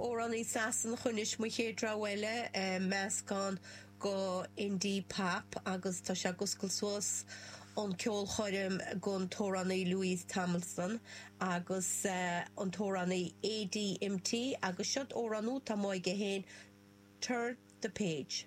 Amhránaí Sasanach anois mo chéad rogha eile, meascán go indie pop agus tá sé ag oscailt suas an ceolchoirm gon t-amhránaí Louis Tomlinson agus an t-amhránaí ADMT agus seod amhrán úd atá amuigh aige féin, Turn the Page.